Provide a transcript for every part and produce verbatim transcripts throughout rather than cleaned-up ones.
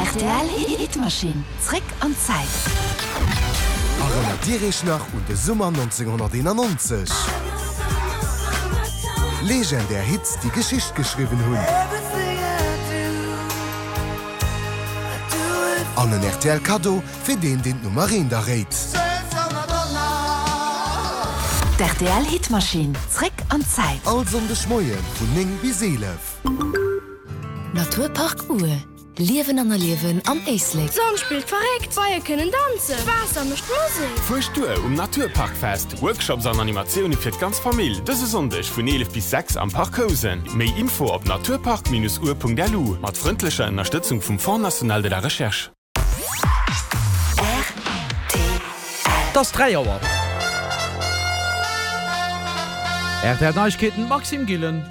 Rtl Hitmaschinn, zréck an d'Zäit. Erënnert Dir Iech nach un de Summer nonzénghonnerteenannonzeg? Legendär Hits, déi Geschicht geschriwwen hunn. An en rtl Kaddo fir deen, deen d'Nummer eent erréit. D'RTL Hitmaschinn, zréck an d'Zäit. All Sonndeg Moie vun néng bis eelef. Naturpark Our, Liewen an erliewen am Éislek. D'Sonn spillt verréckt, d'Beie kënnen danzen, d'Waasser mécht Musek. Fuerscht duer um Naturparkfest! Workshops an Animatioune fir d'ganz Famill dëse Sonndeg vun eelef bis sechs am Parc Housen. Méi Info op naturpark-our.lu mat frëndlecher Ënnerstëtzung vum Fonds national de la recherche. Et ass dräi Auer. R T L Neiegkeeten, Maxime Gillen.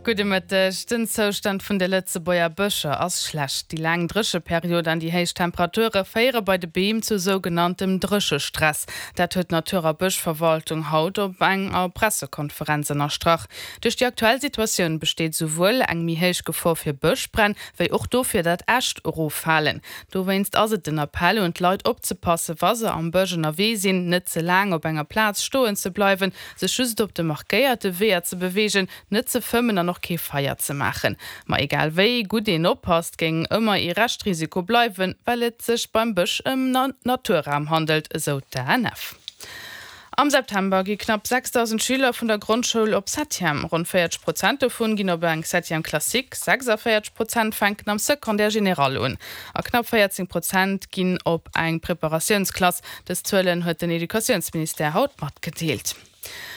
Gudde Mëtteg. Den Zoustand vun de Lëtzebuerger Bëscher ass schlecht. Déi laang Drécheperiod an déi héich Temperature féiere bei de Beem zu sougenanntem Dréchestress. Dat huet d'Natur a Bëschverwaltung haut op enger Pressekonferenz ënnerstrach. Duerch déi aktuell Situatioun besteet souwuel eng méi héich Gefor fir Bëschbränn, wéi och dofir, datt Äscht eroffalen. Dowéinst ass et den Appell un d'Leit opzepassen, wa se am Bësch ënnerwee sinn, net ze laang op enger Plaz stoen ze bleiwen, sech just op de markéierte Weeër ze beweegen, net ze fëmmen an och kee Feier ze maachen. Ma egal wéi gutt een oppasst, géing ëmmer ee Reschtrisiko bleiwen, well et sech beim Bësch ëm Naturraum handelt, esou d'A N F. Am September gi knapp sechsdausend Schüler vun der Grondschoul op Septième. Ronn véierzeg Prozent dovun ginn op eng Septième classique, sechsavéierzeg Prozent fänken am Secondaire général un a knapp véierzéng Prozent ginn op eng Preparatiounsklass. Dës Zuelen huet den Educatiounsministère haut matgedeelt.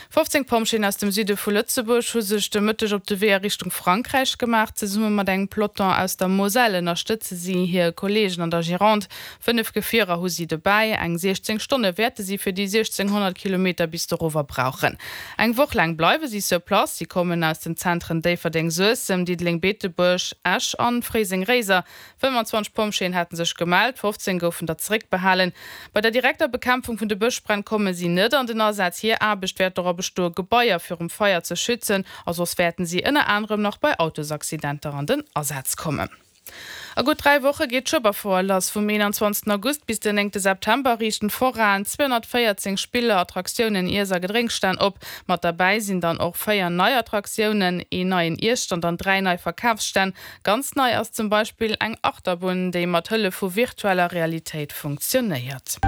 fofzéng Pompjeeën aus dem Süde vu Lëtzebuerg hu sech de Mëtteg op de Wee a Richtung Frankräich gemaach. Zesumme mat engem Peloton aus der Moselle ënnerstëtze si hir Kolleegen an der Gironde. Fënnef Gefierer hu si dobäi. Eng siechzéng Stonne wäerte si fir déi siechzénghonnert Kilometer bis dorower brauchen. Eng Woch laang bleiwe si sur place. Si kommen aus den Zentren Déifferdeng-Suessem, Diddeleng-Beetebuerg, Esch an Fréiseng-Réiser. fënnwanzwanzeg Pompjeeën hate sech gemellt, fofzéng goufen der zeréckbehalen. Bei der direkter Bekämpfung vun de Bëschbränn komme si net an den Asaz. Hir Aarbecht wäert dora bestoen, Gebaier virum Feier ze schützen, a soss wäerten si ënner anerem nach bei Autosaccidenter an den Asaz kommen. A gutt dräi Woche geet d'Schueberfouer lass. Vum eenanzwanzegsten August bis den néngte September riichten d'Foraen zweehonnertvéierzéng Spiller, Attraktiounen, Iess a Gedrénksstänn op. Mat derbäi sinn dann och véier nei Attraktiounen, een neien Iesstand an dräi nei Verkafsstänn. Ganz nei ass zum Beispill eng Achterbunn, déi mat Hëllef vu virtueller Realitéit funktionéiert.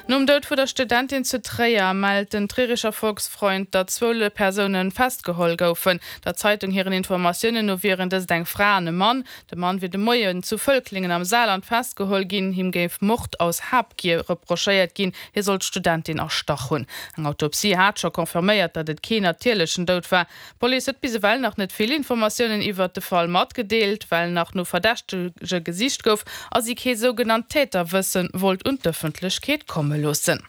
Nom Doud vu der Studentin zu Tréier mellt den Trierischer Volksfreund, datt zwou Persoune festgeholl goufen. Der Zeitung hiren Informatiounen no wieren dëst eng Fra an e Mann. De Mann wier de Moien zu Völklingen am Saarland festgeholl ginn. Him géif Mord aus Habgier reprochéiert ginn, hie soll d'Studentin erstach hunn. Eng Autopsie hat scho confirméiert, datt et keen natierlechen Doud war. D'Police huet bis ewell nach net vill Informatiounen iwwert de Fall matgedeelt, well nach no Verdächtege gesicht gouf a si kee sougenannt Täterwësse wollt un d'Ëffentlechkeet komme loossen.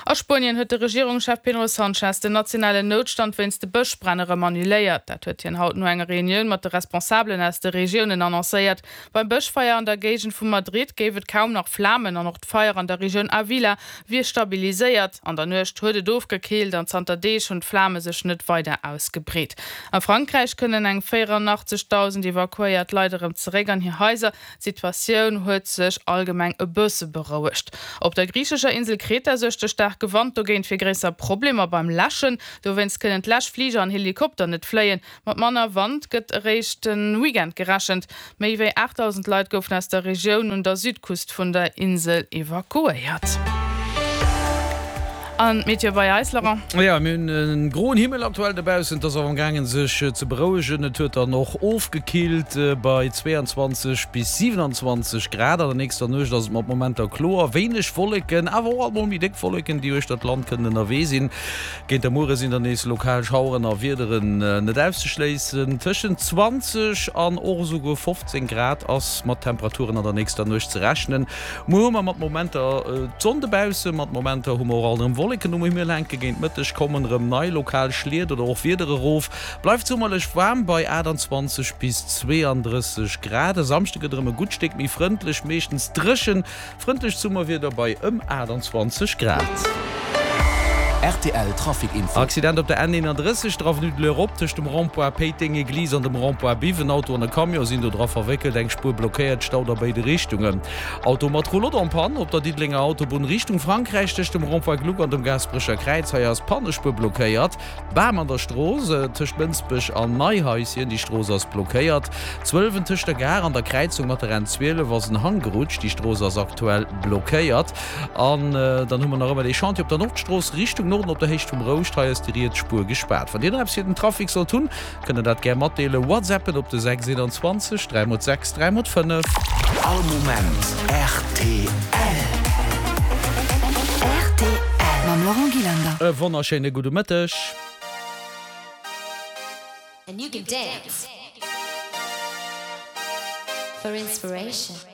A Spuenien huet de Regierungschef Pedro Sanchez den nationalen Noutstand wéinst de Bëschbränn erëm annuléiert. Dat huet hien haut no enger Reunioun mat de Responsabelen aus de Regiounen annoncéiert. Beim Bëschfeier an der Géigend vu Madrid géif et kaum nach Flamen an och d'Feier an der Regioun Avila wier stabiliséiert. An der Nuecht huet et ofgekillt an zanter Deeg hunn d'Flame sech net weider ausgebreet. A Frankräich kënnen eng véierannachtzegdausend evakuéiert Leit erëm zeréck an hir Haiser. D'Situatioun huet sech allgemeng e bësse berouegt. Op der griichescher Insel Kreta suergt de staarke Wand dogéint fir gréisser Problemer beim Läschen. Dowéinst kënnen d'Läschfliger an Helikopter net fléien. Mat manner Wand gëtt eréischt de Weekend gerechent. Méi wéi aachtdausend Leit goufen aus der Regioun un der Südküst vun der Insel evakuéiert. An d'Meteo bei eis, Laurent? Jo, mir hunn e groen Himmel aktuell dobaussen. Et ass awer amgaangen sech ze berouegen. Et huet dann och ofgekillt bei zweeanzwanzeg bis siwenanzwanzeg Grad. An der nächster Nuecht ass et mat Momenter kloer, wéineg Wolleken, awer och alt mol méi déck Wolleken, déi uechter d'Land kënnen ënnerwee sinn. Géint de Muere sinn dann nees lokal Schaueren a Wiederen net auszeschléissen. Tëschent zwanzeg an och esouguer fofzéng Grad ass mat Temperaturen an der nächster Nuecht ze rechnen. Muer hu mer mat Momenter d'Sonn dobaussen, mat Momenter hu mer och alt erëm Wolleken um Himmel hänken. Géint Mëtteg kommen erëm nei lokal Schliet oder och Wieder erof. Bleift summerlech waarm bei aachtanzwanzeg bis zweeandrësseg Grad. E Samschde gëtt erëm e gutt Stéck méi frëndlech, meeschtens dréchen. Frëndlecht Summerwieder bei ëm aachtanzwanzeg Grad. Rtl Trafic Info. Accident op der N eenanddrësseg, der Avenue de l'Europe, tëscht dem Rond-point Péiteng Eglise an dem Rond-point Biwen. Auto an e Camion sinn do dra verwéckelt, eng Spuer blockéiert, Stau a béide Richtungen. Auto mat Roulotte en panne op der Diddelenger Autobunn Richtung Frankräich tëscht dem Rond-point Gluck an dem Gaasperecher Kräiz. Hei ass d'Pannespuer blockéiert. Bam an der Strooss tëscht Mënsbech an Neihaischen, déi Strooss ass blockéiert. Zwëlwen tëscht der Gare an der Kräizung mat der N zwielef ass en Hang gerutscht, déi Strooss ass aktuell blockéiert. An dann hu mer nach ëmmer dee Chantier op der Nordstrooss Richtung Norden op der Héicht vum Rouscht, hei ass déi riets Spuer gespaart. Wann Dir nach eppes fir den Trafic sollt hunn, kënnt der dat gär matdeelen, WhatsAppen op de sechs eenanzwanzeg dräi mol sechs dräi mol fënnef. All Moment rtl. Rtl mam Laurent Gillander. E wonnerschéine gudde Mëtteg. And you can dance for inspiration.